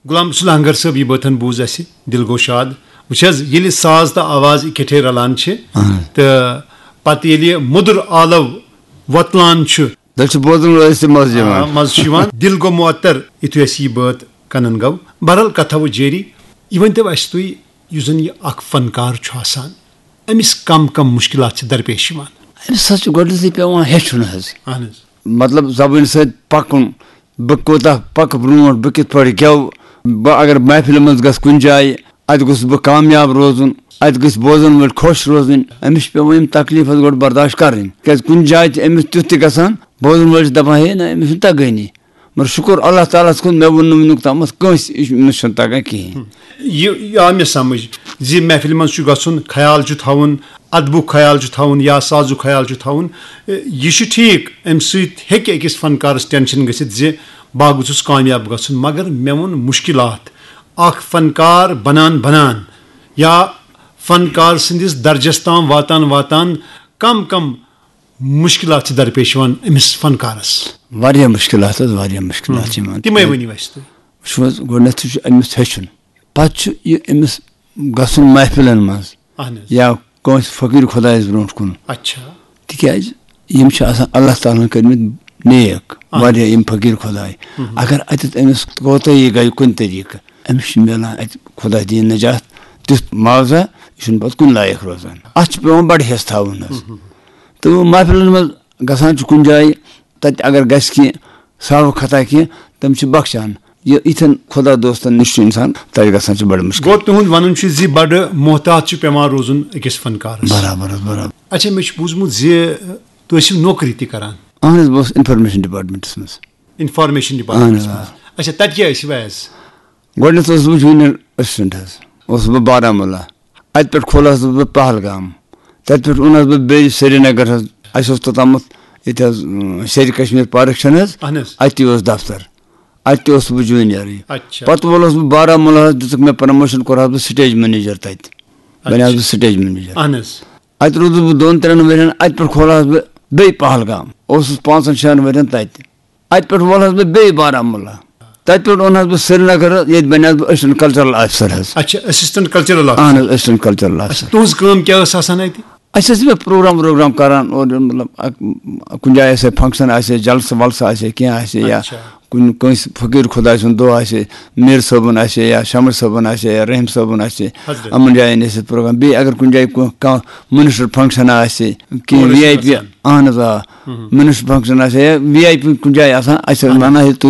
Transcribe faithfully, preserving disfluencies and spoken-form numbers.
غلام رسول hunger صٲب، یہِ بٲتن بوٗز اَسہِ، دِل گوٚو شاد۔ وٕچھ حظ، ییٚلہِ ساز تہٕ آواز اِکٹھے رلان چھِ، اہن۔ تہٕ پتہٕ ییٚلہِ مُدُر آلو وۄتلان چھُ، تیٚلہِ چھُ بوزن وٲلِس تہِ مزٕ آ، یِوان۔ مزٕ چھُ یِوان۔ دِل گوٚو معطر، یِتھُے اَسہِ یہِ بٲتھ کنن گوٚو۔ بہرحال، کتھا وۄنۍ جٲری۔ یہِ ؤنۍتو اَسہِ تُہۍ، یُس زن یہِ اکھ فنکار چھُ آسان، أمِس کم کم مُشکلات چھِ درپیش یِوان؟ أمِس حظ چھُ گۄڈٕنیتھٕے پٮ۪وان ہیٚچھُن حظ۔ اہن حظ۔ مطلب، زبٲنۍ سۭتۍ پکُن، بہٕ کوٗتاہ پکہٕ برونٛٹھ، بہٕ کِتھ پٲٹھۍ گٮ۪وٕ، بہٕ اگر محفلہِ منٛز گژھٕ کُنہِ جایہِ، اتہِ گوٚژھُس بہٕ کامیاب روزُن، اتہِ گٔژھۍ بوزن وٲلۍ خۄش روزٕنۍ۔ أمِس چھِ پٮ۪وان یِم تکلیٖف حظ گۄڈٕ برداشت کرٕنۍ، کیازِ کُنہِ جایہِ چھِ أمِس تیُتھ تہِ گژھان، بوزن وٲلۍ چھِ دپان، ہے نہ، أمِس چھُنہٕ تگٲنی۔ مگر شُکر اللہ تعالیٰ ہس کُن، مےٚ ووٚن نہٕ وٕنیُک تامتھ کٲنٛسہِ، یہِ چھُ، أمِس چھُنہٕ تگان کِہیٖنۍ۔ یہِ، یہِ آو مےٚ سمجھ زِ محفلہِ منٛز چھُ گژھُن، خیال چھُ تھاوُن، ادبُک خیال چھُ تھاوُن یا سازُک خیال چھُ تھاوُن۔ یہِ چھُ ٹھیٖک، امہِ سۭتۍ ہیٚکہِ أکِس فنکارس ٹینشن گٔژھِتھ زِ بہٕ گوٚژھُس کامیاب گژھُن، مگر مےٚ ووٚن مُشکلات۔ اکھ فنکار بنان بنان یا فنکار سٕنٛدِس درجس تام واتان واتان کم کم مُشکلات چھِ درپیش یِوان أمِس فنکارس؟ واریاہ مُشکلات حظ، واریاہ مُشکلات چھِ یِوان۔ تِمے ؤنِو اَسہِ تُہۍ۔ وٕچھِو حظ، گۄڈٕنٮ۪تھٕے چھُ أمِس ہیٚچھُن، پتہٕ چھُ یہِ أمِس گژھُن محفلن منٛز اہن حظ۔ یا کٲنٛسہِ فقیٖر خۄدایس برونٛٹھ کُن۔ اچھا۔ تِکیازِ یِم چھِ آسان اللہ تعالیٰ ہن کٔرمٕتۍ نیک، اہن۔ واریاہ یِم فقیٖر خۄداے۔ مہم۔ اگر اتٮ۪تھ أمِس کوتٲہی گٔے کُنہِ طریٖقہٕ، أمِس چھُ میلان اتہِ خۄداے دِیِن نجات تیُتھ معاوضہ، یہِ چھُنہٕ پتہٕ کُنہِ لایق روزان۔ اتھ چھُ پٮ۪وان بڑٕ حٮ۪س تھاوُن حظ۔ مہم۔ تہٕ محفلن منٛز گژھان چھُ کُنہِ جایہِ، تتہِ اگر گژھِ کینٛہہ، سہو خطا کینٛہہ، تِم چھِ بخشان۔ یہِ یِتھٮ۪ن خۄدا دوستن نِش چھُ انسان تتہِ گژھان چھُ بڑٕ مُشکل۔ گوٚو تُہُنٛد ونُن چھُ زِ بڑٕ محتاط چھُ پٮ۪وان روزُن أکِس فنکارس۔ برابر حظ، برابر۔ اچھا، مےٚ چھُ بوٗزمُت زِ تُہۍ ٲسِو نوکری تہِ کران۔ اہن حظ، بہٕ اوسُس انفارمیشن ڈپارٹمنٹس منٛز۔ انفارمیشن ڈپارٹمنٹس اہن حظ، منٛز۔ آ۔ اچھا، تتہِ کیٛاہ ٲسِو ایز؟ گۄڈٕنٮ۪تھ اوسُس بہٕ جوٗنیر اسسٹنٹ حظ، اوسُس بہٕ بارہمولہ۔ اتہِ پٮ۪ٹھ کھولہس بہٕ پہلگام، تتہِ پٮ۪ٹھ اوٚنہس بہٕ بیٚیہِ سرینگر حظ۔ اسہِ اوس توٚتامتھ ییٚتہِ حظ، اۭں، شیرِ کشمیر پارک چھَنہٕ حظ، اہن حظ۔ اتہِ تہِ اوس دفتر، اتہِ تہِ اوسُس بہٕ جوٗنیرٕے۔ اچھا۔ پتہٕ وولُس بہٕ بارہمولہ حظ، دِژٕکھ مےٚ پرموشن، کوٚرہس بہٕ سٹیج منیجر تتہِ، بنیوس اچھا۔ بہٕ سٹیج منیجر۔ اہن حظ۔ اتہِ روٗدُس بہٕ دۄن ترٛٮ۪ن ؤرین، اتہِ پٮ۪ٹھ کھولہس بہٕ بیٚیہِ پہلگام، اوسُس پانٛژن شٮ۪ن ؤرین تتہِ۔ اتہِ پٮ۪ٹھ وولہس بہٕ بیٚیہِ بارہمولہ، تتہِ پٮ۪ٹھ اوٚنہس بہٕ سرینگر، ییٚتہِ بنیوس بہٕ اسسٹنٹ کلچرل آفیسر حظ۔ اچھا، اسسٹنٹ کلچرل آفیسر۔ اہن حظ، اسسٹنٹ کلچرل آفیسر۔ اچھا، تُہنٛز کٲم کیٛاہ ٲس آسان اتہِ؟ اسہِ ٲسۍ یِمے پروگرام وروگرام کران اورٕ یورٕ، مطلب، اکھ، کُنہِ جایہِ آسہِ ہا فنکشن آسہِ ہا، جلسہٕ ولسہٕ آسہِ ہا، کینٛہہ آسہِ ہا، یا اچھا۔ کُنہِ کٲنٛسہِ فقیٖر خۄداے سُنٛد دۄہ آسہِ ہا، میٖر صٲبُن آسہِ ہا، یا شمر صٲبُن آسہِ ہا، یا رحیم صٲبُن آسہِ ہا، حضرت۔ یِمن جاین ٲسۍ أسۍ پروگرام۔ بیٚیہِ اگر کُنہِ جایہِ کُ-، کانٛہہ منسٹر فنکشن آسہِ، کینٛہہ اور ٲسۍ وی آی پی، گژھان۔ اہن حظ، آ، مہم۔ منسٹر فنکشن آسہِ ہا، یا وی آی پی کُنہِ جایہِ آسان، اسہِ ٲسۍ اہن حظ۔ ونان ہے، تُہۍ